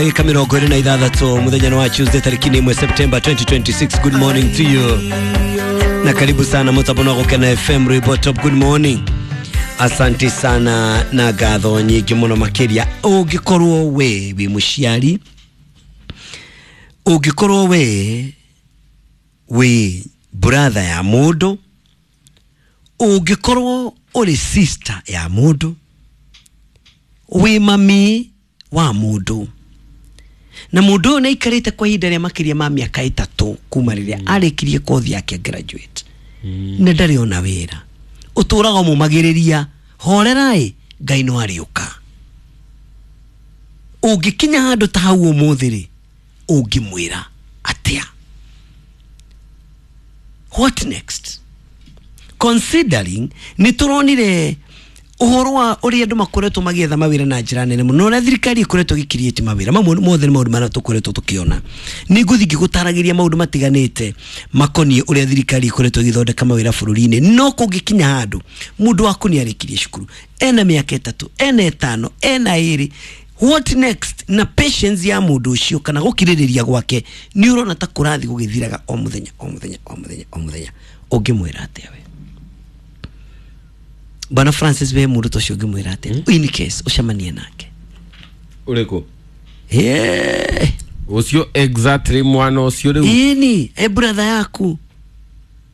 Dakika 26 muthenya wa Tuesday tariki 1 September 2026. Good morning to you na karibu sana mutambo wa Gukena FM Rwimbo Top. Good morning, asanti sana na ngatho nyingĩ mũno makĩria. Ũngĩkorwo we wĩ mũciari, ũngĩkorwo we wĩ brother ya mũndũ, ũngĩkorwo ũrĩ sister ya mũndũ, wĩ mami wa mũndũ, na mũndũ ũyũ nĩaikarĩte kwa ihinda rĩa makĩria ma mĩaka 3 kuma rĩrĩa arĩkirie kothi yake graduate, na ndarĩ ona wĩra, ũtũraga ũmũmagĩrĩria horerai, Ngai no arĩũka. Ũngĩkinya handũ ta hau ũmũthĩ rĩ, ũngĩmwĩra atĩa? What next? Considering nĩ tũronire ũhoro wa ũrĩa andũ makoretwo magĩetha mawĩra na njĩra nene mũno, ũrĩa thirikari ĩkoretwo ĩgĩkiriĩti mawĩra mamwe mothe nĩ maũndũ marĩa tũkoretwo tũkĩona. Nĩ ngũthiĩ ngĩgũtaragĩria maũndũ matiganĩte makoniĩ ũrĩa thirikari ĩkoretwo ĩgĩthondeka mawĩra bũrũri-inĩ. No kũngĩkinya handũ mũndũ waku nĩ arĩkirie cukuru, ena mĩaka 3, ena 5, ena 2, what next? Na patience ya mũndũ ũcio kana gũkirĩrĩria gwake nĩ ũrona ta kũrathiĩ gũgĩthiraga o mũthenya o mũthenya o mũthenya o mũthenya, ũngĩmwĩra atĩa we? Bwana Francis, we mũndũ ta ũcio ũngĩmwĩra atĩa in case ũcemanie nake? Ũrĩkũ ũcio exactly mwana ũcio rĩu? Ĩni e brother yaku.